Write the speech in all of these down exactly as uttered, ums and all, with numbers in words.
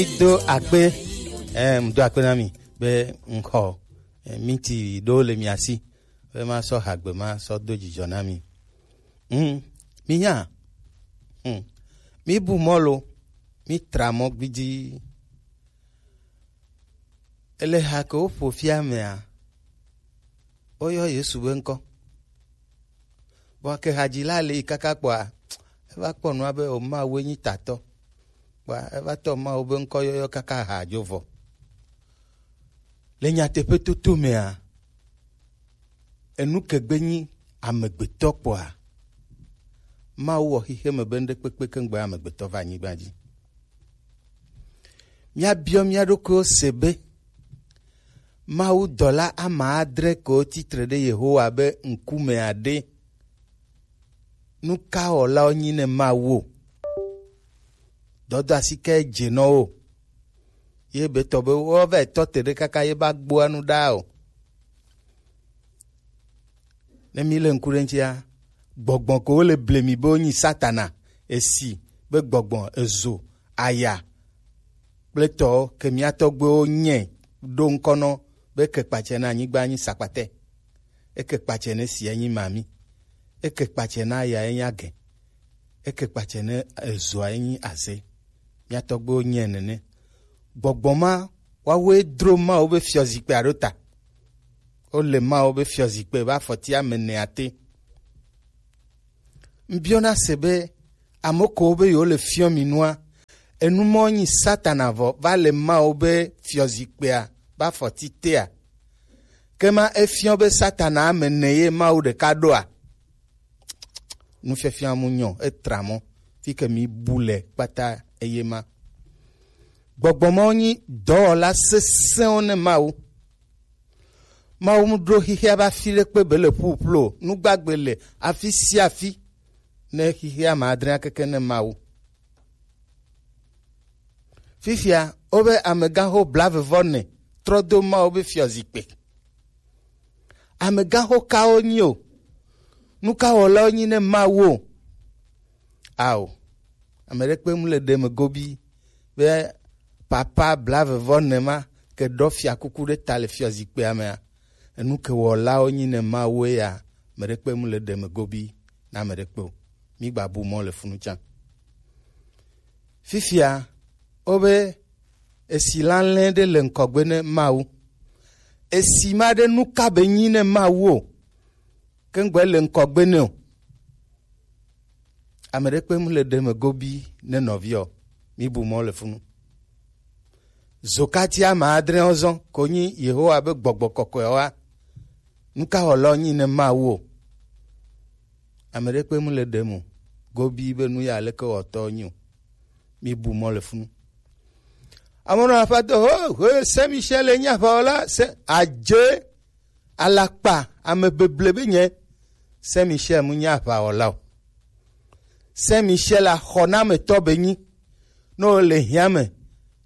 Do akpe, eh, do akpe na mi be ŋxɔ, eh, miti ɖo le mia si be ma sɔ hagbe ma sɔ do dzidzɔ na mi. Hmm, mi nya, hmm, mi bu mɔ lo, mi tra mɔ gbidi. Ele ha ke wo ƒo fia mea, woyɔ Yesu be ŋkɔ. Vɔ ke hadzila le yi kaka kpɔa, eva kpɔ nua be o Mawu nyi tatɔ. Kpɔa eva tɔ Mawu be ŋkɔ yɔyɔ kaka ha dzo vɔ. Le nyateƒe toto mea, enu ke gbe nyi amegbetɔ kpɔa, Mawu wɔ xixeme be ŋɖekpekpe keŋgbe amegbetɔ va anyigba dzi. Míabiɔ mía ɖokuiwo se be, Mawu dɔla ame adre kewo titre ɖe Yehowa be ŋkumea ɖe, nu ka wɔlawo nyi ne Mawu o? Dɔdɔ asi ke dze nɔ wo. Ye be tɔ be wo va tɔ te ɖe kaka ye ba gboa nu ɖa o. Ne mi le ŋku ɖe ŋutia, gbɔgbɔ ko wo le ble mi be wonyi Satana, esi be gbɔgbɔ, ezo, aya kple tɔwo ke mía tɔgbuiwo nyɛ ɖo ŋkɔ nɔ be ke kpatsɛ na anyigba nyi sakpatɛ. Eke kpatsɛ ne sia nyi mami. Eke kpatsɛ na ya enyi agɛ. Eke kpatsɛ ne ezoa enyi aze. Mía tɔgbuiwo nyɛ nene. Gbɔgbɔ ma, woawoe dro Mawu be fiɔzikpea ɖo ta. Wole Mawu be fiɔzikpea be afɔti ame enea te. Ŋbiɔna se be, ame kewo be yewo le fiɔ mi nua, enu mɔ nyi Satana vɔ va le Mawu be fiɔzikpea be afɔti tea? Ke ma efiɔ be Satana ame ene ye Mawu ɖeka ɖoa? Nufiafia mu nyɔ, etra mɔ, fi ke mi bu le kpata eye ma. Gbɔgbɔ mawo nyi dɔwɔla sesẽwo ne Mawu. Mawu mu ɖo xixia be afi ɖekpe be le ƒuƒlu o. Nu gbagbe le afi sia afi ne xixia ma adre akeke ne Mawu. Fifia, wobe amegãxo blaeve vɔ ene trɔ do Mawu be fiɔzikpui. Amegãxo kawo nyi o? Nu ka wɔlawo nyi ne Mawu o? Ao, ame ɖekpe mu le ɖe me gobi be papa blaeve vɔ ene ma ke ɖɔ fiakuku ɖe ta le fiɔzikpuia mea, enu ke wɔlawo nyi ne Mawu ya, ame ɖekpe mu le ɖe me gobi na ame ɖekpe o. Mi gba bu mɔ le funu tsã. Fifia, wobe esi lalɛ ɖe le ŋkɔgbe ne Mawu. Esi ma ɖe nu ka be nyi ne Mawu o? Ke ŋgbe le ŋkɔgbe ne o. Ame ɖekpe mu le ɖe me gobi ne nɔviɔ. Mi bu mɔ le funu. Zokati ame adre ɔzɔ ko nyi Yehowa be gbɔgbɔ kɔkɔe wa. Nu ka wɔlɔ nyi ne Mawu o? Ame ɖekpe mu le ɖe mo gobi be nu ya leke wɔtɔ nyi o. Mi bu mɔ le funu. Amono aƒetɔ ho ho Saint Michel enyi aʋawɔla se adze alakpa ame beble be nye. Saint Michel mu nyi aʋawɔla o. Saint Michel axɔnametɔ be nyi. Ne wole hiã me,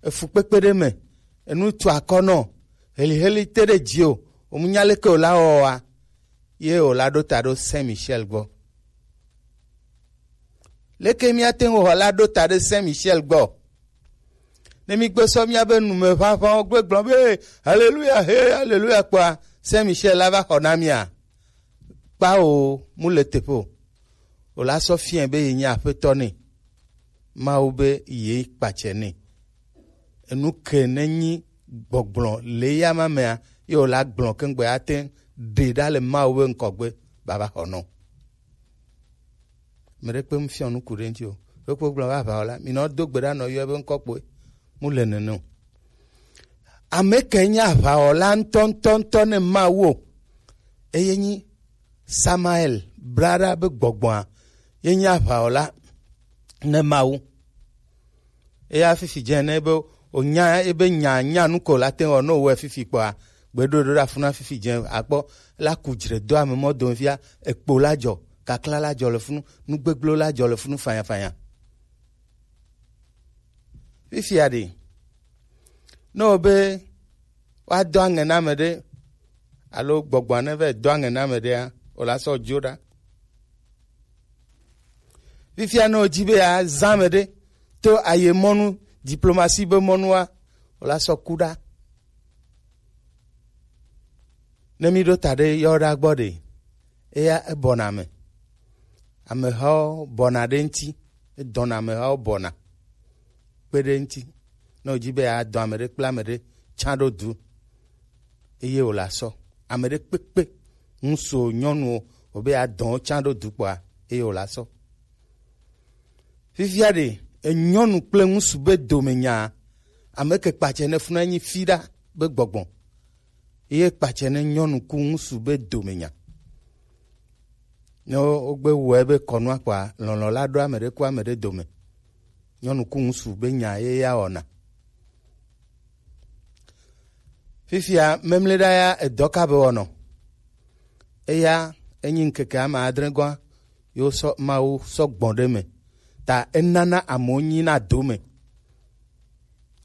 efukpekpe ɖe me, enu tu akɔ nɔ, heliheli te ɖe dzi o, womunya leke wòla wɔwɔa, ye wòla ɖo ta ɖo Saint Michel gbɔ. Leke míate ŋu wɔ la ɖo ta ɖe Saint Michel gbɔ? Ne mígbe sɔ míabe numeʋaʋãwo gbe gblɔ be, "Haleluya, he, haleluya," kpɔa, Saint Michel la va xɔ na mía? Kpao, mu le teƒe o. Wòla sɔ fiɛ be ye nye aƒetɔ nɛ. Mawu be ye kpatsɛ nɛ. Enu ke ne nyi gbɔgblɔ le ya ma mea, ye wòla gblɔ keŋgbe ate ɖe ɖa le Mawu be ŋkɔgbe baba xɔ nɔ. Ame ɖekpe mu fiɔ nuku ɖe ŋuti o. Ɖokpo gblɔ be aʋawɔla, minɔ do gbe ɖa nɔ yɔ be ŋkɔ kpoe. Mu le nene o. Ame ke nye aʋawɔla ŋutɔ, ŋutɔ, ŋutɔ ne Mawu o. Eye nyi Samael, bla ɖa be gbɔgbɔa, ye nye aʋawɔla ne Mawu. Eya fifi dze ne be wònya ebe nya, nya nu ko la te wɔ ne wòwɔe fifi kpɔa, gbeɖoɖo ɖe afuna fifi dze akpɔ la ku dzre do ame mɔ dome fia, ekpo la dzɔ, kakla la dzɔ le funu, nu gbegblẽ la dzɔ le funu fanyafanya. Fifia ɖe, ne wòbe woadɔ aŋɛ na ame ɖe, alo gbɔgbɔa ne va dɔ aŋɛ na ame ɖea, wòla sɔ dzo ɖa. Fifia ne wòdi be yeazã ame ɖe to ayemɔnu Diplomatie be mɔnua, wòla sɔ ku ɖa. Ne mi ɖo ta ɖe yɔ ɖa gbɔ ɖe, eya ebɔna me. Amehawo bɔna ɖe ŋuti, edɔna amehawo bɔna kpe ɖe ŋuti. Ne wòdzi be yeadɔ ame ɖe kple ame ɖe tsã ɖo du, eye wòla sɔ. Ame ɖe kpekpe, ŋutsuwo, nyɔnuwo, wòbe yeadɔ wo tsã ɖo du kpɔa, eye wòla sɔ. Fifia ɖe, enyɔnu kple ŋutsu be domenya, ame ke kpatsɛ ne funa nyi fi ɖa be gbɔgbɔ. Ye kpatsɛ ne nyɔnu ku ŋutsu be domenya. Ne wo-, wogbe wɔe be kɔnua kpɔa, lɔlɔ̃ la ɖo ame ɖe ku ame ɖe dome. Nyɔnu ku ŋutsu be nya ye ya wɔna. Fifia memle ɖa ya edɔ ka be wɔnɔ. Eya enyi ŋkeke ame adre gɔa, yo sɔ Mawu sɔ gbɔn ɖe me. Ta enana amewo nyi na dome.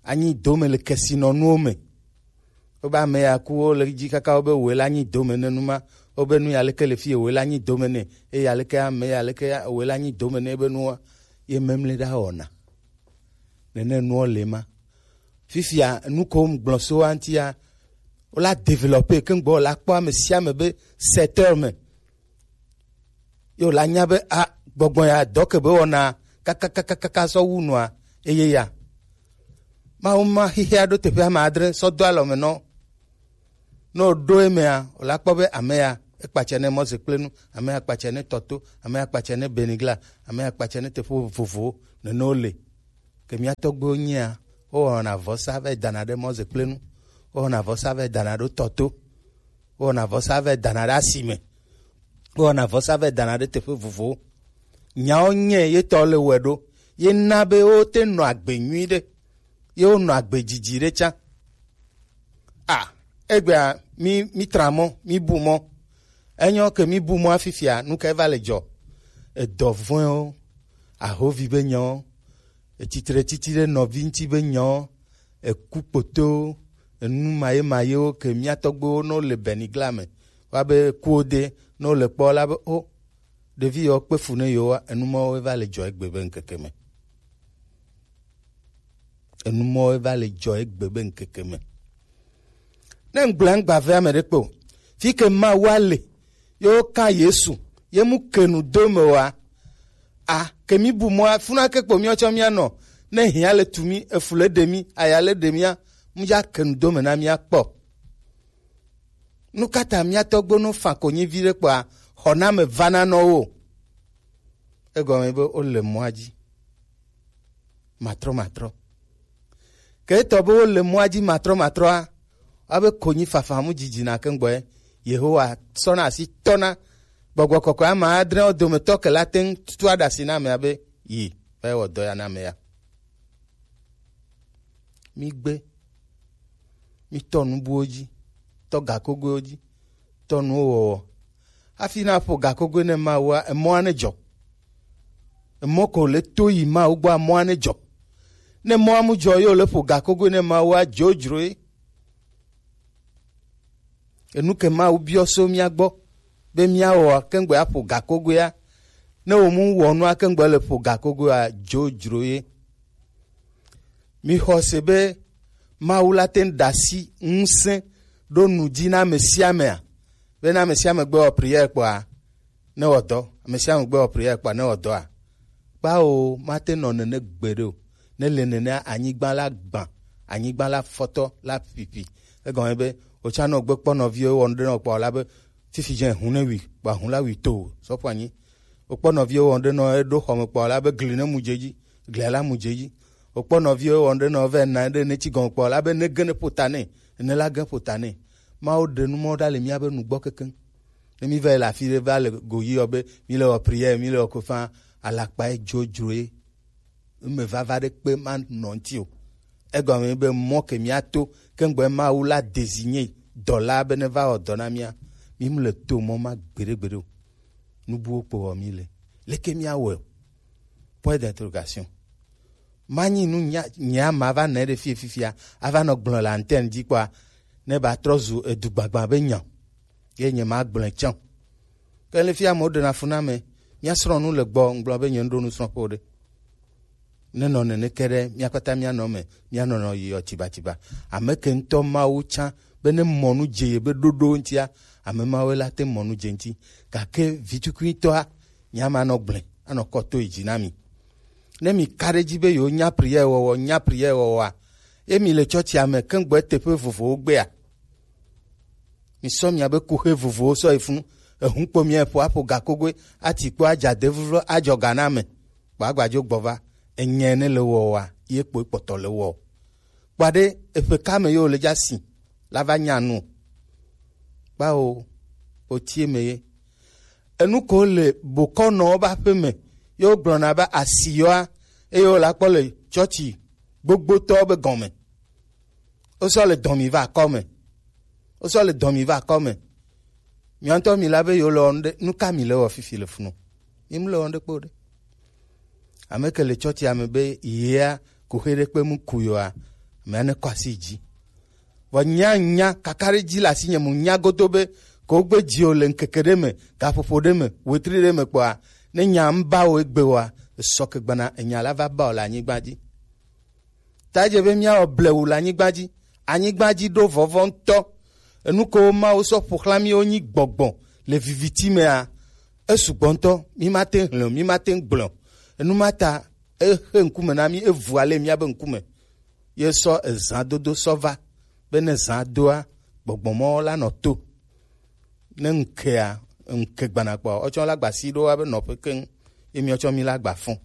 Anyi dome le kesinɔnuwo me. Wobe ame ya ku, wo le dzi kaka wobe woe la nyi dome ne nu ma. Wobe nu ya leke le fi ye woe la nyi dome ne. Eye ya leke ame ya leke ya woe la nyi dome ne ebe nua. Ye memle ɖa wɔna. Nene nuwo le ma. Fifia nu ko ŋgblɔ so wa ŋutia, wola développer keŋ gbɔ la kpɔ ame sia ame be secteur me. Yo la nya be a gbɔgbɔ ya dɔ ke be wɔna kakakakaka sɔ wu nua eye ya. Mawu ma xixia ɖo teƒe ame adre sɔ do alɔ me nɔ. Ne wòɖo emea, wòla kpɔ be ame ya ekpatsɛ ne mɔzekplenu, ame ya kpatsɛ ne tɔto, ame ya kpatsɛ ne benigla, ame ya kpatsɛ ne teƒe vovovowo nene wole. Ke mía tɔgbuiwo nyia, wowɔna vɔsa vɛ dana ɖe mɔzekplenu, wowɔna vɔsa vɛ dana ɖo tɔto, wowɔna vɔsa vɛ dana ɖe asime, wowɔna vɔsa vɛ dana ɖe teƒe vovowo. Nyawo nyɛ ye tɔ le wɛ ɖo, ye na be wote nɔ agbe nyui ɖe, ye wonɔ agbe dzidzi ɖe tsã. A, egbea mi, mi tra mɔ, mi bu mɔ. Enyo ke mi bu mɔ afifia, nu kae va le dzɔ? Edɔ vɔ̃ewo, ahovi be nyawo, etitre titi ɖe nɔvi ŋuti be nyawo, eku kpotowo, enu maye mayewo ke mía tɔgbuiwo ne wole benigla me. Woabe kuwo de, ne wole kpɔ la be, o, ɖevi yewo kpe fu ne yewoa, enu mawo va le dzɔ egbe be ŋkeke me. Enu mawo va le dzɔ egbe be ŋkeke me. Ne ŋgblɔ ŋgba vɛ ame ɖe kpe o. Fi ke Mawu le, ye woka Yesu, ye mu ke nu do me wa. A, ke mi bu mɔ funa ke kpo mi tsɔ mia nɔ. Ne hia le tu mi, efu le ɖe mi, aya le ɖe mia, mu ya ke nu do me na mia kpɔ. Nu ka ta mía tɔgbo no fa konyi vi ɖe kpɔa, xɔname vana nɔ wo? Egɔme be wole mɔa dzi matrɔmatrɔ. Ke etɔ be wole mɔa dzi matrɔmatrɔa, woabe konyi fafa mu dzidzina ke ŋgbɔe. Yehowa sɔna asi tɔna gbɔgbɔ kɔkɔe ame adre wo dometɔ ke la te ŋu tutu aɖe asi na amea be yi va wɔ dɔ ya na ame ya. Migbe, mitɔ nubuwo dzi, tɔ gakogoewo dzi, tɔ nuwo wɔwɔ. Hafi na ƒo gakogoe ne Mawua, emɔa ne dzɔ. Emɔ ko le to yi Mawu gbɔa, emɔa ne dzɔ. Ne emɔa mu dzɔ, ye wole ƒo gakogoe ne Mawua dzodzroe. Enu ke Mawu biɔ so mía gbɔ be míawɔa, keŋgbe aƒo gakogoea, ne wòmu wɔ nua keŋgbe le ƒo gakogoea, dzodzro ye. Mixɔ se be Mawu la te ŋu ɖe asi ŋusẽ ɖo nu dzi na ame sia amea, be ne ame sia ame gbe wɔ prière kpɔa, ne wɔ dɔ. Ame sia ame gbe wɔ prière kpɔa, ne wɔ dɔa. Kpao, mate nɔ nene gbeɖe o. Ne le nenea, anyigba la gbã, anyigba la fɔtɔ la ƒiƒi. Egɔme be, wòtsa nɔ gbe kpɔ nɔviwo wɔ nu ɖe nɔ kpɔ la be, fifi dze hu ne wi, kpɔ hu la wi to, sɔƒo anyi. Wòkpɔ nɔviwo wɔ nu ɖe nɔ eɖo xɔme kpɔ la be, gli ne mu dze dzi, glia la mu dze dzi. Wòkpɔ nɔviwo wɔ nu ɖe nɔ vɛ na ɖe ne tsi gɔme kpɔ la be, ne ge ne ƒo ta nɛ, ne la ge ƒo ta nɛ. Mawu ɖe nu mɔ ɖa le míabe nugbɔ kekeŋ. Ne mi va yi le afi ɖe va le go yi yɔ be mi le wɔ prière, mi le wɔ kofa, alakpa ye dzodzro ye. Eme vava ɖe kpe ma nɔ ŋuti o. Egɔme be mɔ ke mía to, keŋgbe Mawu la désigné dɔla be ne va wɔ dɔ na mía, mi mu le to mɔ ma gbeɖe gbeɖe o. Nubuwo kpo wɔ mi le. Leke mía wɔ? Point d'interrogation. Manyi nu nya, nya ma va nɛ ɖe fie fifia, ava nɔ gblɔ le antenne dzi kpɔa, ne ba trɔ zu edu gbagba be nya. Ye nye ma gblɔe tsã. Ke le fia amewo ɖena fu na me, mía srɔ̃ nu le gbɔ, ŋgblɔ be nye ŋɖo nu srɔ̃ƒe o ɖe. Ne nɔ nene ke ɖe, mía kpata mía nɔ me, mía nɔnɔ yi ɔ tibatsiba. Ame ke ŋutɔ Mawu tsã be ne mɔ nu dze ye be ɖoɖo ŋutia, ame mawo la te mɔ nu dze ŋuti. Gake vitukuitɔa, nya ma nɔ gblẽ, anɔ kɔ to yi dzi na mi. Ne mi ka ɖe edzi be yewo nya prière wɔwɔ, nya prière wɔwɔa, ye mi le tsɔtsia me keŋgbɔ teƒe vovovowo gbea, mi sɔ mia be kuxe vovowo sɔ yi funu, ehu kpo mia ƒo aƒo gakogoe, ati kpo adza de vuvlo adzɔ ga na me. Kpɔ agbadzo gbɔ va, enyae ne le wɔwɔa, ye kpoe kpɔtɔ le wɔ. Kpɔ ɖe eƒe ka me ye wòle dza si la va nya nu. Kpao, wòtie me ye. Enu ko le bokɔnɔwo be aƒe me ye wogblɔna be asi yɔa, eye wòle akpɔ le tsɔtsi gbogbotɔwo be gɔme. Wosɔ le dɔn mi va akɔ me. Wosɔ le dɔn mi va akɔ me. Mia ŋutɔ mi la be yewo le wɔnu ɖe, nu ka mi le wɔ fifi le funu? Mi mu le wɔnu ɖe kpo ɖe. Ame ke le tsɔtsia me be yea kuxe ɖe kpe mu ku yoa, amea ne kɔ asi dzi. Vɔ nya nya kaka ɖe dzi le asinye mu nya godo be ko gbe dzi o le ŋkeke ɖe me, gaƒoƒo ɖe me, wetri ɖe me kpɔa, ne nya ŋu ba o egbe oa, esɔ ke gbana enya la va ba o le anyigba dzi. Ta edze be míawɔ blewu le anyigba dzi. Anyigba dzi ɖo vɔvɔ ŋutɔ. Enu kewo Mawu sɔ ƒo xlã míwo nyi gbɔgbɔ le viviti mea, esugbɔ ŋutɔ. Mímate ŋu hlẽ o, mímate ŋu gblẽ o. Enu ma ta exe ŋkume na mí, evu ale míabe ŋkume. Ye sɔ ezãdodo sɔ va be ne zã doa, gbɔgbɔ mɔwo la nɔ to. Ne ŋkea, ŋke gbana kpɔa, wotsɔ la gba si ɖo abe nɔƒe keŋ, ye míatsɔ mí la gba fɔ.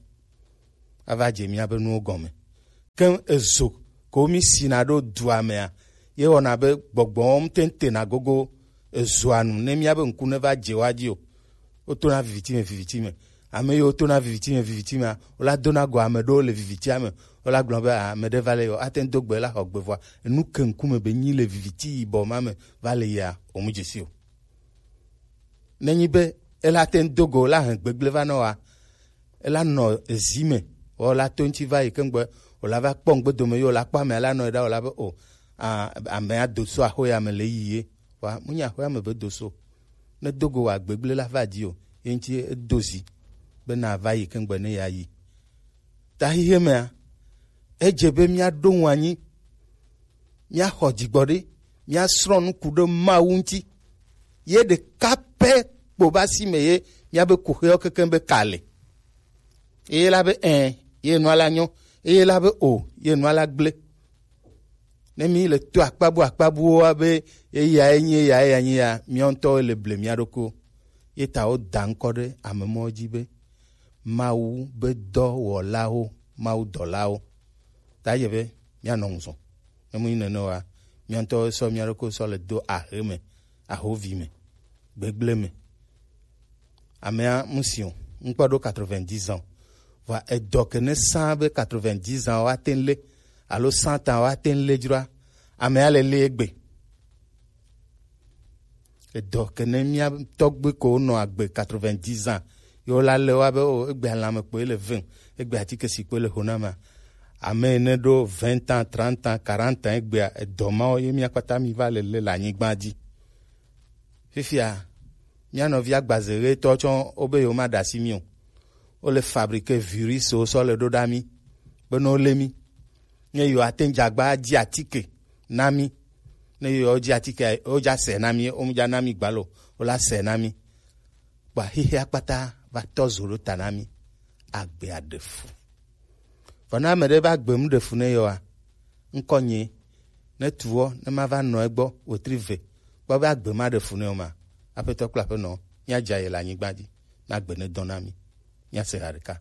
Ava dze míabe nuwo gɔme. Ke ezo ko mí sina ɖo dua mea, ye wɔna be gbɔgbɔwo ŋutɔ tena gogo ezoa nu ne míabe ŋku ne va dze woa dzi o. Wotona viviti me, viviti me. Ame yiwo tona viviti me, viviti mea, wola dona go ame ɖewo le vivitia me. Wola gblɔ be, "Ah, ame ɖe va le yɔ, ate ŋu do gbe la xɔ gbe vɔa, enu ke ŋkume be nyi le viviti yibɔ ma me va le yia, o mu dzesi o." Nenyi be ela te ŋu do go la hɛn gbegble va nɔ wa, ela nɔ ezi me, wɔ la to ŋuti va yi keŋgbe, wòla va kpɔ ŋgbe dome, ye wòla kpɔ amea la nɔ yi ɖa, wòla be, "O, a, amea do so axo ya me le yi ye." Wa, mu nya axo ya me be do so. Ne do go wa gbegble la va di o, ye ŋuti edo zi be na va yi keŋgbe ne ya yi. Ta xexe mea, edze be míaɖo ŋu anyi, míaxɔ dzigbɔɖi, míasrɔ̃ nu ku ɖe Mawu ŋuti. Ye ɖeka pɛ kpo be asi me ye míabe kuxewo kekeŋ be ka le. Eye la be ẽ, ye nua la nyɔ. Eye la be o, ye nua la gblẽ. Ne mí le to akpabu akpabuwo be eyae nyi, eyae ya nyi ya, míawo ŋutɔwo le ble mía ɖokuiwo. Ye ta woda ŋkɔ ɖe ame mɔwo dzi be Mawu be dɔwɔlawo, Mawu dɔlawo. Ta ye be míanɔ ŋu zɔn. Ne mu nyi nene oa, mía ŋutɔwo sɔ mía ɖokuiwo sɔ le do ahe me, ahovi me, gbegble me. Amea mu si o, ŋkpɔ ɖo quatre-vingt-dix ans. Vɔa edɔ ke ne sã be quatre-vingt-dix ans woate ŋu lé, alo cent ans woate ŋu lé dzroa, amea le lé egbe. Edɔ ke ne mía tɔgbe ko nɔ agbe quatre-vingt-dix ans, yo la le wa be o, egbe alame kpoe le vem, egbe atike si kpoe le ho na ma. Ame yi ne ɖo vingt ans, trente ans, quarante ans egbea, edɔ mawo ye mía kpata mi va le lé le anyigba dzi. Fifia, mía nɔvi agbaze ɣetɔ tsɔ wobe yewo ma ɖe asi mí o. Wo le fabriquer virus wo sɔ le ɖo ɖa mí. Be ne wo lé mí. Ne yewo ate ŋu dze agba dzi atike na mí. Ne yewo dzi atike, wo dza sɛ na mí, wo mu dza na mí gbalo, wo la sɛ na mí. Kpa xexea kpata va tɔ zo ɖo ta na mí. Agbea ɖe fu. Vɔ ne ame ɖe va gbe mu ɖe fu ne yɔa, ŋkɔ nye, ne tuwɔ, ne ma va nɔ egbɔ, wetri ve, kpɔ be agbe ma ɖe fu ne o ma, aƒetɔ kple aƒenɔ, míadza ye le anyigba dzi, na gbe ne dɔn na mí. Míase ha ɖeka.